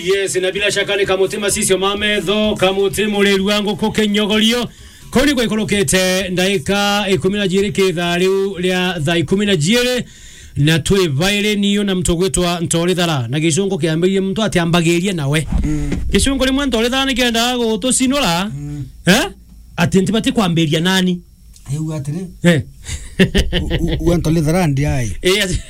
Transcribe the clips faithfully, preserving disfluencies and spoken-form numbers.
Yes, na bila shaka ni kamuti macicio ma metho, kamuti muriru wa nguku kinyogorio. Kuu ni gwikurukite ndaika ikumi na jiiri ki ithaa riu ria thaa ikumi na jiiri, na twi bairi niu na muntu ugwitwa Ntorithara, na gicungu kiambirie muntu atiambagiria nawe. Mm. Gicungu rimwe Ntorithara nikiendaga gutucinura, mm, eh? Ati ntibati kwambiria nani? Riu atiri. Eh. U-, u-, u-, Ntorithara ndi ai. Eh, ati-,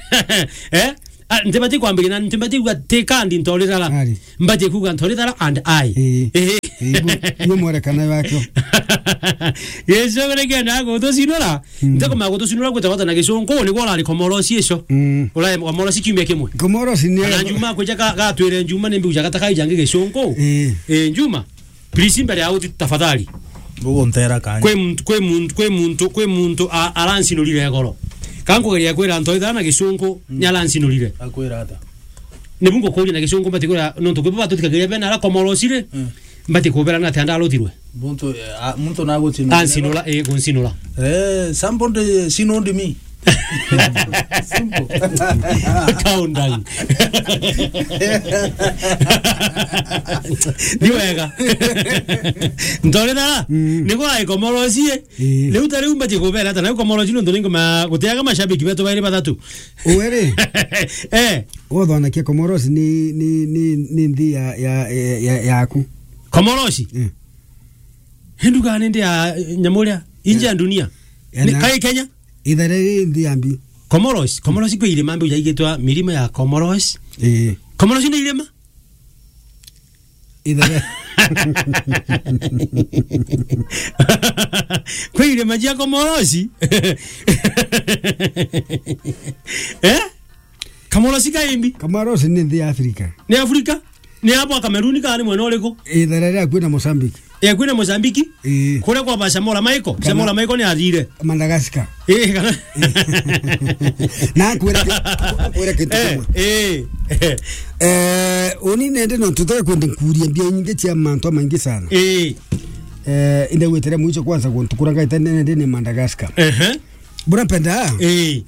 eh? Ah, ntibati kwambiria na ntibati kuuga ti kandi Ntorithara. Ari. Mbati kuuga Ntorithara and I. Ii. Ii. Ii, bu-, bu mwerekano wakio. Gicungu nikiendaga gutucinura. Mm. Ntikumenya gutucinura gwita gwata na gicungu, niguo urari Komorosi icio. Mm. Urari Komorosi kiumia kimwe. Komorosi ni kana Njuma kwija ka-, gatwire Njuma ni mbiuja gataka ijangi gicungu. Ii. Ii, Njuma. Please, mbere ya uti, tafadhali. Mbugu ntera kanya. Kwi muntu, kwi muntu, kwi muntu, kwi muntu a-, arancinurire igoro. Ka nkugeria kwira Ntorithara na gicungu, mm, ni arancinurire. Akwira ata? Nibu ngukuria na gicungu, mbati kwira, nontu kwi bo batutikagiria bena ara Komorosi ri, mm, mbati kubera na ati andarutirwe. Muntu, eh, a-, muntu nagucinura. Ancinura, eh, guncinura. Eh, somebody cinoned me. Simple. Calm down. Ni wega. Ntorithara, mm, niguo ai Komorosi, eh. Ii. Riu ta riu mbati kubera ata, na Komorosi nontu ningoma gutiaga mashabiki betu bairi bathatu. Uwe ri? Eh. Uthona kia Komorosi ni, ni, ni, ni nthi ya, ya, ya, ya, yaku. Komorosi? Eh. Hindu gani ndi ya, eh, nyamu ria? Inje ya, ya dunia. Ya ni na kai Kenya? Ithere ri nthi ya mbi. Comoros, Comoros kwi irima mbi ujaigitwa mirima ya Comoros. Ii. Comoros ni irima? Ithere. Kwi irima cia Comoros? Eh? Comoros ka imbi? Comoros ni nthi ya Afrika. Ni Afrika? Ni hapo Kameruni kana ni mwena uriku? Ithere ria kwina Mozambique. Eh, kwina Mozambique? Ii. Kuria kwa ba Samora Michael? Kana Samora Michael ni athire. Madagascar. Eh, kana na kwira ki-, kwira kintu kimwe. Eh, eh. Eh, uni nende no tutaka kwenda nkuria mbia nyingi cia mantu maingi sana. Eh. Eh, inde gwitire mwicho kwanza kuntukura ngaita nende ni Madagascar. Ehe. Bura penda? Eh.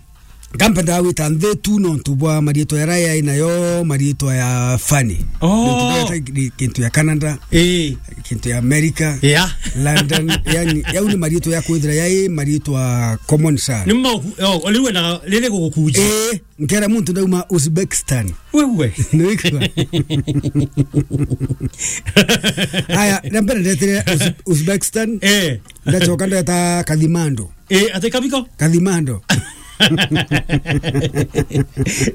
Kampenda gwita nthi tu nontu bwa mariitwa jaria yai nayo, mariitwa ya funny. Oh. Nontu bwa ta-, kintu ya Canada, ii, kintu ya America, yeah, London, yani, yau ni mariitwa ya kwithira yai mariitwa common sana. Ni mau, oh, riu wendaga riri gugukunjia. Ii, nkera muntu ndauma Uzbekistan. Wewe. Niwikwa. Aya, na mbere ndetire Uz-, Uzbekistan. Eh. Ndacoka ndeta Kathmandu. Eh, ati kabiko? Kathmandu.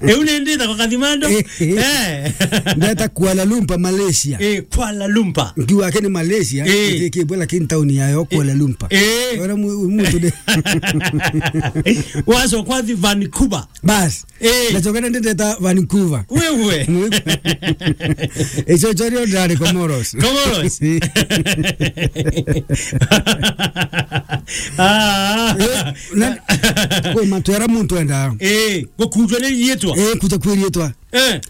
Eu ni ndita kwa Kathmandu? Eh, eh. Eh. Ndeta Kuala Lumpur, Malaysia. Eh, Kuala Lumpur. Nkiuga ake ni Malaysia, eh, iti kibwe, lakini town yayo Kuala Lumpur. Eh. Ora mu-, muntu de. Wacoka thi Vancouver. Bas. Eh. Ndacoka ndeta Vancouver. Wewe. Icio cio rio ndari Comoros. Comoros. Ah. Eh, na, kwi mantu jaria muntu endaa. Eh, gukunjwa ni riitwa. Eh, kuja kwi riitwa. Eh.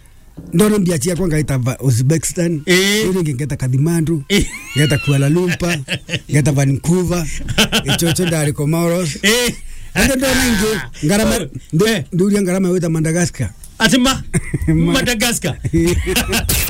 Ndona mbia ciakwa ngaita va-, Uzbekistan. Eh. Riu ringi ngeta Kathmandu. Eh. Ngeta Kuala Lumpur. Ngeta Vancouver. Icio cio ndari Comoros. Eh. Ende ndona ingi, ngarama, oh, ndu-, eh, nduria ngarama gwita Madagascar. Ati ma? Ma- Madagascar.